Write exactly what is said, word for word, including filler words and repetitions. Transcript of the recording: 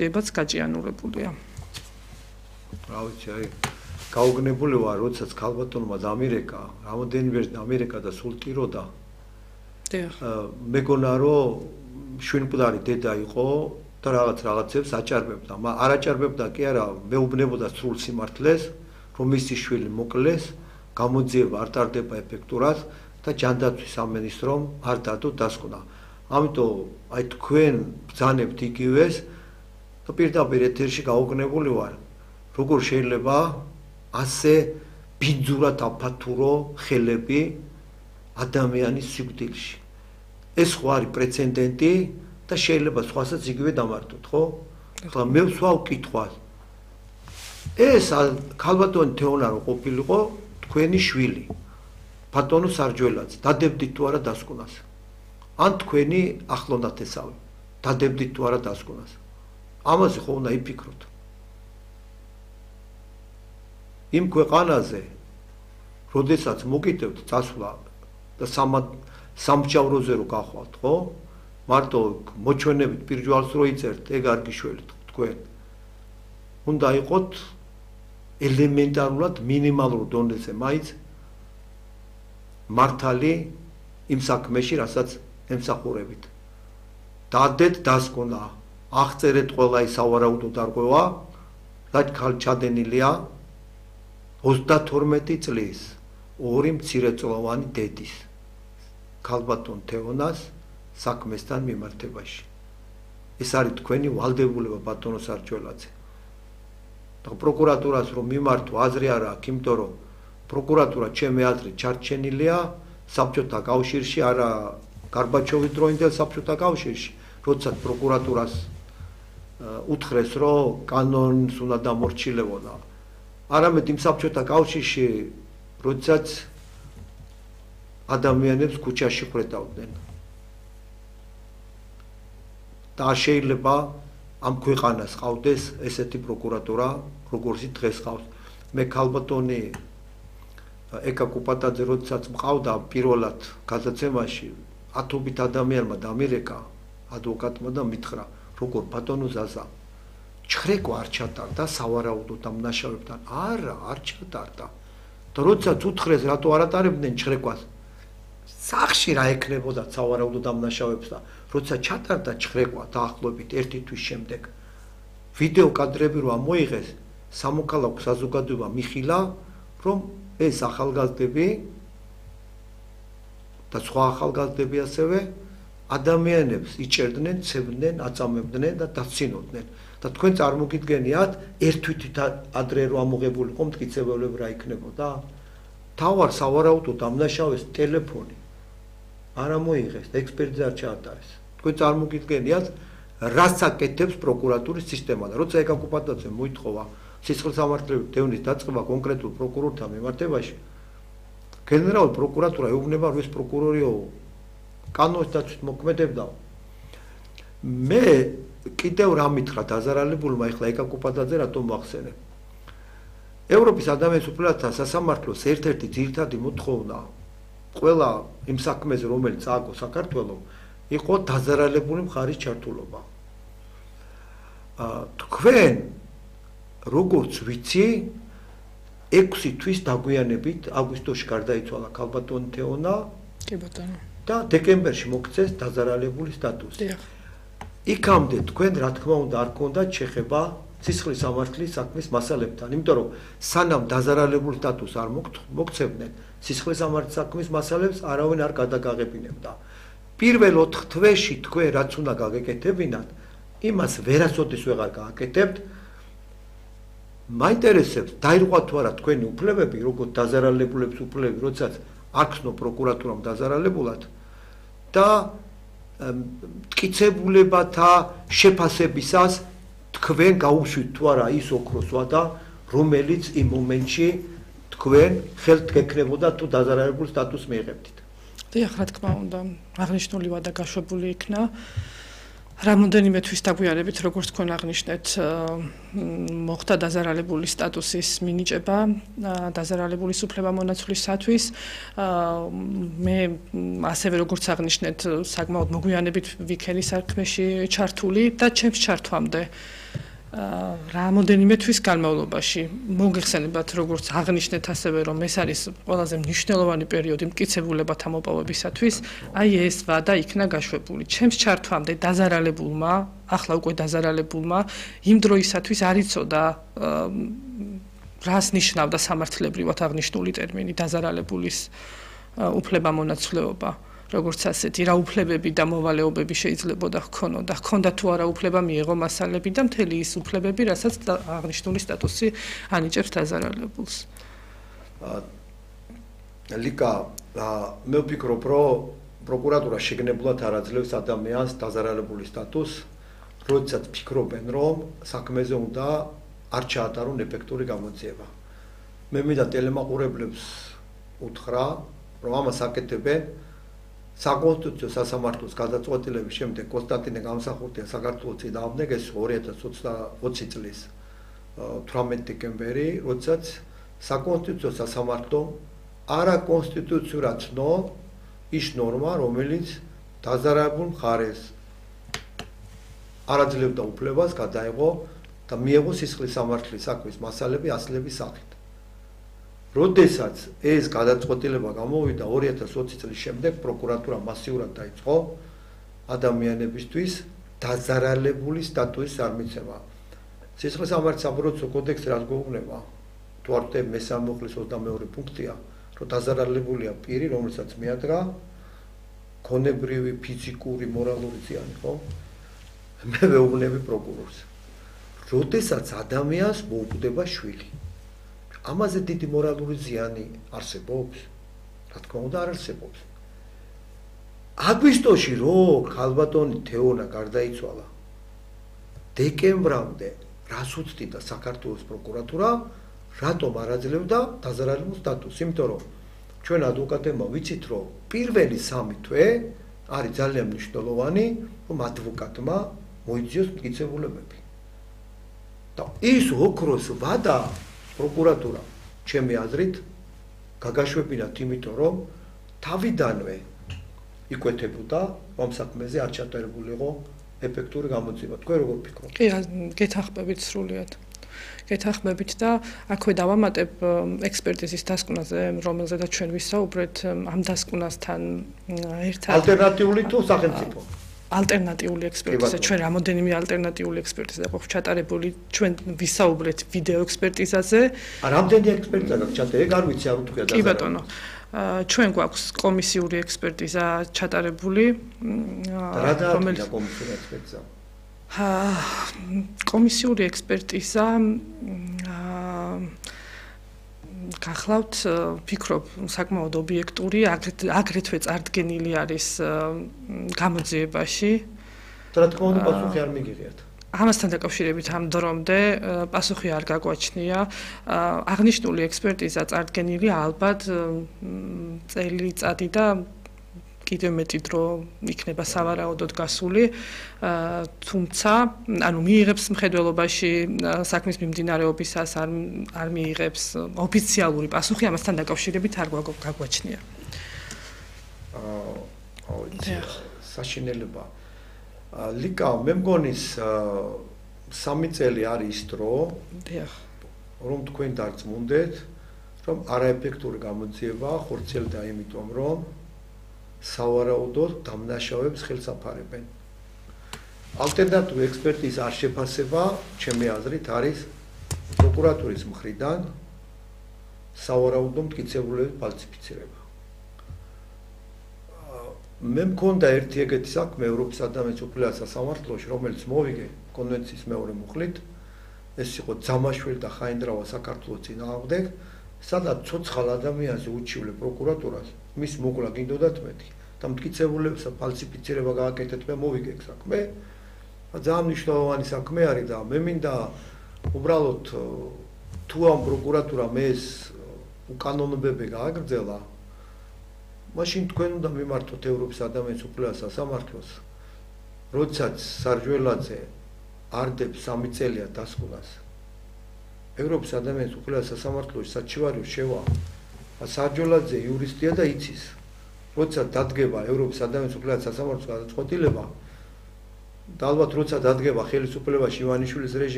ებაც გაჭიანურებულია. რა ვიცი, აი გაუგნებული ვარ, როდესაც ქალბატონმა დამირეკა, რამოდენიმე დამირეკა და სულ ტიროდა. დიახ. მეგონა რომ შვენკვდარი დედა იყო და რაღაც რაღაცებს აჭარბებდა. არ აჭარბებდა კი არა, მეუბნებოდა სრულ სიმართლეს, რომ მისი შვილი მოკლეს, გამოძიება არ ტარდება ეფექტურად და ჯანდაცვის სამინისტრომ არ დადო დასკვნა. ამიტომ აი თქვენ ბრძანებთ იგივეს და პირდაპირ ეთერში გაუგნებული ვარ. როგორ შეიძლება ასე ბინძურად აფათურო ხელები ადამიანის სიკვდილში. ეს ხო არის პრეცედენტი და შეიძლება სხვასაც იგივე დამართოთ, ხო? ახლა მე ვსვავ კითხვას. ეს ქალბატონი თეონა რო ყოფილიყო თქვენი შვილი. ბატონო სარჯველაძე, დადებდით თუ არა დასკვნას? ან თქვენი ახლონათესავი, დადებდით თუ არა დასკვნას? ამაზე ხო უნდა იფიქროთ. იმ ქვეყანაზე, როდესაც მოგიტევთ წასვლა და სამგზავროზე რო გახვალთ, ხო? მარტო მოჩვენებით პირჯვალს რო იწერთ, ეგ არ გიშველით თქვენ. უნდა იყოთ ელემენტარულად მინიმალურ დონეზე მაინც მართალი იმ საქმეში, რასაც ემსახურებით. დადეთ დასკვნა, აღწერეთ ყველა ის სავარაუდო დარღვევა, რაც ჩადენილია ოცდათორმეტი წლის ორი მცირეწლოვანი დედის ქალბატონ თეონას საქმესთან მიმართებაში. ეს არის თქვენი ვალდებულება ბატონო სარჯველაძე. და პროკურატურას რომ მიმართო აზრი არ აქვს, იმიტომ რომ პროკურატურა ჩემი აზრით ჩარჩენილია საბჭოთა კავშირში, არა გარბაჩოვის დროინდელ საბჭოთა კავშირში, როდესაც პროკურატურას უთხრეს, რომ კანონს უნდა დამორჩილებოდა. არამედ იმ საბჭოთა კავშირში, როდესაც ადამიანებს ქუჩაში ხვედავდნენ. და შეიძლება ამ ქვეყანას ყავდეს ესეთი პროკურატურა, როგორც დღეს ყავს. მე ქალბატონი ეკა კუპატაძე როდესაც მყავდა პირველად გადაცემაში, ათობით ადამიანმა დამირეკა ადვოკატმა და მითხრა, როგორ ბატონო ზაზა, ჩხრეკვა არ ჩატარდა სავარაუდო დამნაშავებთან? არა, არ ჩატარდა. და როდესაც უთხრეს, რატო არ ატარებდნენ ჩხრეკვას? სახში რა ეკნებოდა სავარაუდო დამნაშავებს და როდესაც ჩატარდა ჩხრეკვა დაახლოებით ერთი თვის შემდეგ, ვიდეო კადრები რო ამოიღეს, სამოქალაქო საზოგადოება მიხილა, რომ ეს ახალგაზრდები და სხვა ახალგაზრდები ასევე ადამიანებს იჭერდნენ, ცემდნენ, აწამებდნენ და დაცინოდნენ. და თქვენ წარმოგიდგენიათ, ერთ თვითით ადრე რო ამოღებულიყო მტკიცებულები რა იქნებოდა? თავარ სავარაუდო დამნაშავეს ტელეფონი არ ამოიღეს და ექსპერტიზა არ ჩაატარეს. თქვენ წარმოგიდგენიათ, რას აკეთებს პროკურატურის სისტემა და როცა ეკა კუპატაძემ მოითხოვა სისხლისამართლების დევნის დაწყება კონკრეტულ პროკურორთან მიმართებაში, გენერალური პროკურატურა ეუბნება, რომ ეს პროკურორიო კანონის დაცვით მოქმედებდაო. მე კიდევ რა მითხრა დაზარალებულმა, ეხლა ეკა კუპატაძე რატომ მოახსენე? ევროპის ადამიანის უფლებათა სასამართლოს ერთ-ერთი ძირითადი მოთხოვნა ყველა იმ საქმეზე, რომელიც წააგო საქართველოს, იყო დაზარალებული მხარის ჩართულობა. თქვენ როგორც ვიცი, ექვსი თვის დაგვიანებით აგვისტოში გარდაიცვალა ქალბატონი თეონა კი ბატონო და დეკემბერში მოქცეს დაზარალებული სტატუსი. იქამდე თქვენ რა თქმა უნდა არ გქონდათ შეხება სისხლის სამართლის საქმის მასალებთან, იმიტომ რომ სანამ დაზარალებული სტატუსს არ მოგცემდნენ, სისხლის სამართლის საქმის მასალებს არავინ არ გადაგაღებინებდა. პირველ ოთხ თვეში თქვენ რაც უნდა გაგეკეთებინათ, იმას ვერასოდეს ვეღარ გააკეთებთ. მაინტერესებს დაირღვა თუ არა თქვენი უფლებები, როგორც დაზარალებულებს უფლებები, როდესაც აქცნო პროკურატურამ დაზარალებულად და მტკიცებულებათა შეფასებისას თქვენ გაუშვით თუ არა ის ოქროს ვადა, რომელიც იმ მომენტში თქვენ ხელთ გეკნებოდა თუ დაზარალებულ სტატუსს მიიღებდით. დიახ, რა თქმა უნდა, აღნიშნული ვადა გაშვებული იქნა. რამოდენიმე თვის დაგვიანებით, როგორც თქვენ აღნიშნეთ, მოხდა დაზარალებული სტატუსის მინიჭება დაზარალებულის უფლებამონაცვლისათვის. მე ასევე როგორც აღნიშნეთ, საკმაოდ მოგვიანებით ვიქენი საქმეში ჩართული და ჩემს ჩართვამდე რამოდენიმე თვის განმავლობაში მოგეხსენებათ, როგორც აღნიშნეთ ასევე, რომ ეს არის ყველაზე მნიშვნელოვანი პერიოდი მტკიცებულებათა მოპოვებისათვის, აი ეს ვადა იქნა გაშვებული. ჩემს ჩართვამდე დაზარალებულმა, ახლა უკვე დაზარალებულმა, იმ დროისათვის არ იცოდა რას ნიშნავდა სამართლებრივად აღნიშნული ტერმინი დაზარალებულის უფლებამონაცვლეობა. როგორც ასეთი რა უფლებები და მოვალეობები შეიძლებოდა ჰქონოდა, ჰქონდა თუ არა უფლება მიეღო მასალები და მთელი ის უფლებები, რასაც აღნიშნული სტატუსი ანიჭებს დაზარალებულს. ლიკა, მე ვფიქრობ, რომ პროკურატურა შეგნებულად არ აძლევს ადამიანს დაზარალებული სტატუსს, როდესაც ფიქრობენ, რომ საქმეზე უნდა არ ჩაატარონ ეფექტური გამოძიება. მე მინდა ტელემაყურებლებს უთხრა, რომ ამას აკეთებენ საკონსტიტუციო სასამართლოს გადაწყვეტილების შემდეგ კონსტანტინე გამსახურდია საქართველოს წინააღმდეგ ეს ორი ათას ოცი წლის თვრამეტი დეკემბერი, როდესაც საკონსტიტუციო სასამართლომ არაკონსტიტუციურად ცნო ის ნორმა, რომელიც დაზარალებულ მხარეს არ აძლევდა უფლებას გადაეღო და მიეღო სისხლის სამართლის საქმის მასალები ასლების სახით. როდესაც ეს გადაწყვეტილება გამოვიდა ორი ათას ოცი წლის შემდეგ, პროკურატურა მასიურად დაიწყო ადამიანებისთვის დაზარალებული სტატუსის წარმიცემა. სისხლის სამართლის საპროცესო კოდექსი რაც გვეუბნება, თუ არ ვთქვი მესამე მუხლის ოცდამეორე პუნქტია, რომ დაზარალებულია პირი, რომელსაც მიადგა ქონებრივი, ფიზიკური, მორალური ზიანი, ხო? მე ვეუბნები პროკურორს. როდესაც ადამიანს მოუკვდება შვილი, ამაზე დიდი მორალური ზიანი არსებობს? რა თქმა უნდა არ არსებობს. აგვისტოში რო ხალბატონი თეონა გარდაიცვალა, დეკემბრამდე რას უცდიდა საქართველოს პროკურატურა, რატომ არ აძლევდა დაზარალებულ სტატუსს? იმიტომ რომ ჩვენ ადვოკატებმა ვიცით, რომ პირველი სამი თვე არის ძალიან მნიშვნელოვანი, რომ ადვოკატმა მოიძიოს მტკიცებულებები. და ის ოქროს ვადა პროკურატურა, ჩემი აზრით, გაგაშვებინათ, იმიტომ რომ თავიდანვე იკვეთებოდა, რომ საქმეზე არ ჩატარებულიყო ეფექტური გამოძიება. თქვენ როგორ ფიქრობთ? კი, გეთანხმებით სრულიად. გეთანხმებით და აქვე დავამატებ ექსპერტიზის დასკვნაზე, რომელზედაც ჩვენ ვისაუბრეთ, ამ დასკვნასთან ერთად ალტერნატიული თუ სახელმწიფო? ალტერნატიული ექსპერტიზა, ჩვენ რამოდენიმე ალტერნატიული ექსპერტიზა გვაქვს ჩატარებული, ჩვენ ვისაუბრეთ ვიდეო ექსპერტიზაზე. რამდენი ექსპერტიზა გაქვს ჩატარებული? ეგ არ ვიცი, არ უთქვია და. კი ბატონო. ჩვენ გვაქვს კომისიური ექსპერტიზა ჩატარებული, რომელიც კომისიური ექსპერტიზა. კომისიური ექსპერტიზა გახლავთ, ვფიქრობ, საკმაოდ ობიექტური, აგრეთვე წარდგენილი არის გამოძიებაში. რა თქმა უნდა, პასუხი არ მიგიღიათ. ამასთან დაკავშირებით ამ დრომდე პასუხი არ გაგვაჩნია. აღნიშნული ექსპერტიზა წარდგენილია ალბათ წელიწადი და კიდევ მეტი დრო იქნება სავარაუდოდ გასული, თუმცა, ანუ მიიღებს მხედველობაში საქმის მიმდინარეობისას არ არ მიიღებს ოფიციალური პასუხი, ამასთან დაკავშირებით არ გაგვაჩნია. აა, საშინელება. ლიკა, მე მგონი სამი წელი არის ის დრო, რომ თქვენ დარწმუნდეთ, რომ არაეფექტური გამოძიება ხორციელდა იმიტომ, რომ სავარაუდოდ დამნაშავეებს ხელს აფარებენ. ალტერნატიული ექსპერტიზა არ შეფასება, ჩემი აზრით, არის პროკურატურის მხრიდან სავარაუდო მტკიცებულებების ფალსიფიცირება. მე მქონდა ერთი ეგეთი საქმე ევროპის ადამიანის უფლებათა სასამართლოში, რომელიც მოვიგე კონვენციის მეორე მუხლით, ეს იყო ძამაშვილი და ხაინდრავა საქართველოს წინააღმდეგ, სადაც ცოცხალ ადამიანზე უჩივლე პროკურატურას მის მოკლა გინდოდათ მეტი და მტკიცებულებებს ფალსიფიცირება გააკეთეთ, მე მოვიგე ეგ საქმე. ძალიან მნიშვნელოვანი საქმე არის და მე მინდა უბრალოდ თუ ამ პროკურატურამ ეს უკანონოებები გააგრძელა, მაშინ თქვენ უნდა მიმართოთ ევროპის ადამიანის უფლებათა სასამართლოს როდესაც სარჯველაძე არდებს სამი წელია დასკვნას ევროპის ადამიანის უყურებელ სასამართლოში საჩივარიო შევა სარჯველაძე იურისტია და იცის როდესაც დადგება ევროპის ადამიანის უყურებელ სასამართლოს გადაწყვეტილება და ალბათ როცა დადგება ხელისუფლებაში ივანიშვილის რეჟიმი